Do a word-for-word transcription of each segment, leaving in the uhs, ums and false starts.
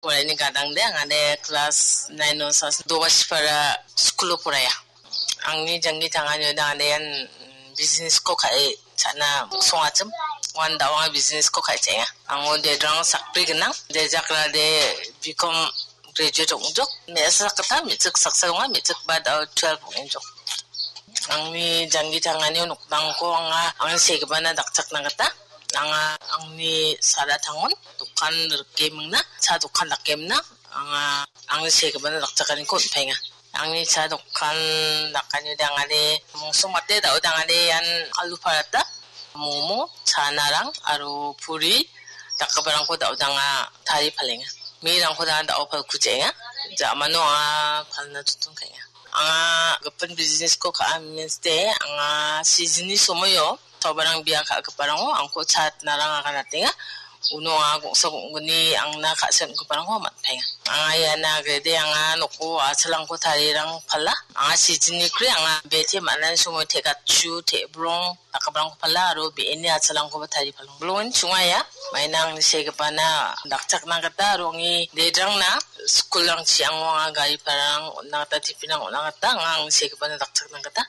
Poraiani gadangde, angade class nine-o sa-, Dobasipara school-o poraia. Angni janggi tanganio dangade ian, mm, business-ko ka·e cha·na songachim. Uan da·o anga business-ko ka·e cha·enga. Ango dedrang sakbri gnang. De jakrade B Com graduate ong·jok. Me·asa sakgittam, me·chik saksa donga, me·chikba da·o twelve ong·enjok. Angni janggi tanganio nokdangko anga angni segipana dakchakna gita anga angni sara tangon dokan rike mingna, cha dokan dake mingna, anga angni segipana dakchakaniko on·paenga. Angni cha dokan dakani dangani mungsong mate da·o dangani ian alu parata, momo, chanarang aro puri dakgiparangko da·o danga tarie palenga. Mirangko danga da·o palkujenga. Jamano anga palna chotton ka·enga. Anga gipin business-ko ka·a means de, anga season-ni somoio sobarang bia ka·giparango angko chatnarang aganatenga. Uno anga gongsa gongni angna ka·singiparangko man·paenga. Anga iana agrede anga noko a·chalangko tarirang pala. Anga season-ni kre anga bete man·ani somoio te·gatchu, te·brong, dakgiparangko pala aro be·eni a·chalangkoba tarie palong. Bilongen chungaia, maina angni segipana dakchakna gita aro angni dedrangna school-rangchi ango anga gari pararang on·na gita, tiffin-rang on·na gita anga angni segipana dakchakna gita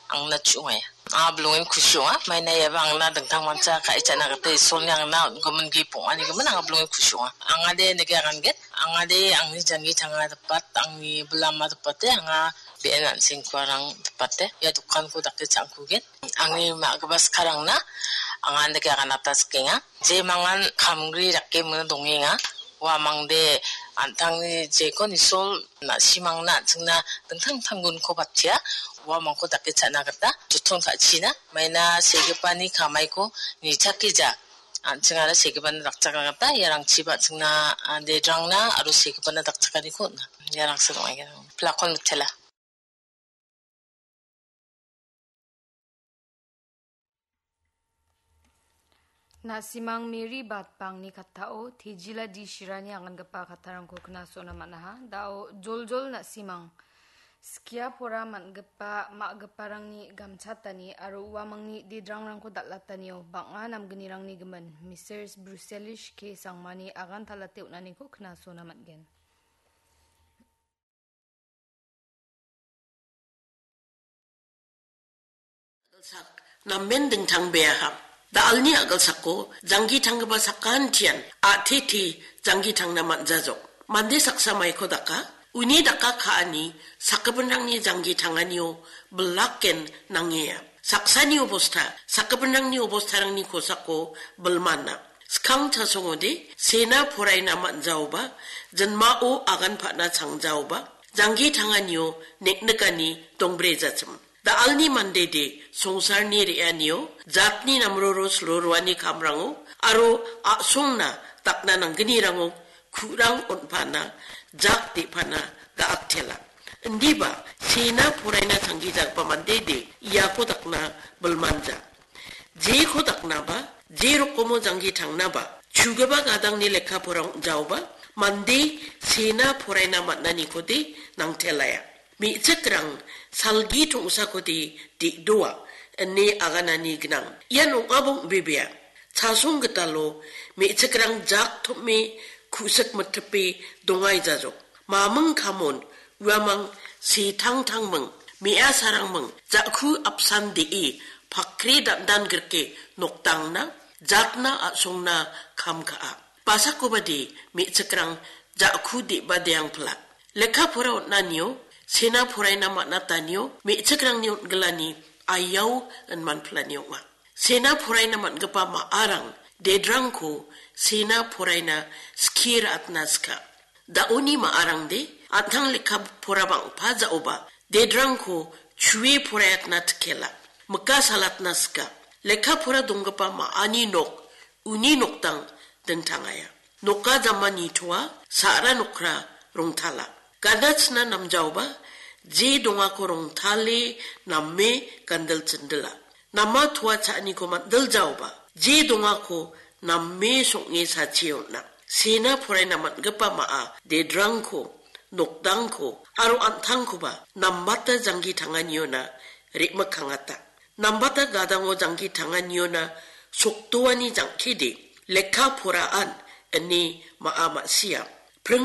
angna chu·ngaia. Anga bilongen kusi ong·a, maina iaba angna dingtangmancha ka·e cha·na gita Isolni angna on·gimin gift ong·anigimin anga bilongen kusi ong·a. Angade nike agangen, angade angni janggi tanga dapat, angni bilama dapate, anga be·en an·sengkuarang dapate, ia dokanko dake cha·angkugen. Angni ma·gipa skarangna anga andake aganata sikenga. Jemangan kamgri dake mingna dongenga. Uamangde an·tangni jekon Isol na·simangna an·chingna dingtang dingtang gunko batia. Uamangko dake cha·na gita joton ka·china. Maina segipani kamaiko nichakija. An·chingara segipana dakchakna gita iarangchiba an·chingna, a, dedrangna aro segipana dakchakaniko on·a. Iarangsa dongenga. Plakon mitela. Na·simang Mary Batbangni kattao Tejila D Shirani agangipa kattarangko knasona man·aha. Da·o joljol na·simang skia pora man·gipa ma·giparangni gamchatani aro uamangni dedrangrangko dal·atanio bang·a namgnirangni gimin Misters Bruselish K Sangmani agan talate on·aniko knasona man·gen. Sak namen dingtangbeaha. Da·alni a·gilsako janggi tanggipa sakantian a·tete janggi tangna man·jajok. Mande saksa maiko daka, uni daka ka·ani sakgipinrangni janggi tanganio bilaken nangea. Saksani obosta, sakgipinrangni obostarangni kosako bilmana. Skang chasongode sena poraina man·jaoba, jinmao agan pa·na changjaoba, janggi tanganio neknikani dongbrejatim. Da·alni mandede songsarni re·anio jatni namroro silroani kamrango aro a·songna dakna nanggnirango ku·rang on·pana, jak de·pana ga·aktela. Indiba sena poraina tanggijagipa mandede iako dakna bilmanja. Jeko daknaba, je rokomo janggi tangnaba, chugipa gadangni lekka pora ong·jaoba, mande sena poraina man·anikode nangtelaia. Me·chikrang salgi tongsakode de·doa ine aganani gnang. Ian ong·aba ong·bebea. Chasong gitalo me·chikrang jak tom·e ku·sik mitipe dongaijajok. Maming kamon uamang setangtangming, me·asarangming, ja·ku apsan de·e pakri dandan grike nokdangna, jatna a·songna kam ka·a. Basakobade me·chikrang ja·ku de·badeangpila. Lekka pora on·anio, sena poraina man·atanio, me·chikrangni on·gilani aiao inmanpilani ong·a. Sena poraina man·gipa ma·arang dedrangko sena poraina skie ra·atna sika. Da·oni ma·arangde an·tang lekka pora bang·pa ja·oba dedrangko chue poraiatna tikela. Mika salatna sika. Lekka pora donggipa ma·ani nok uni nokdang dingtangaia. Noka jama nitoa, sa·ra nokra rongtala. Ganachina namjaoba, je dongako rongtale name gandil chindila. Nama toa cha·aniko mandiljaoba, je dongako name song·e sachie on·a. Sena poraina man·gipa ma·a dedrangko, nokdangko aro an·tangkoba nambata janggi tanganiona re·mikkangata. Nambata gadango janggi tanganiona sokdoani jang·kede lekka poraan ine ma·a ma·sia. Pringo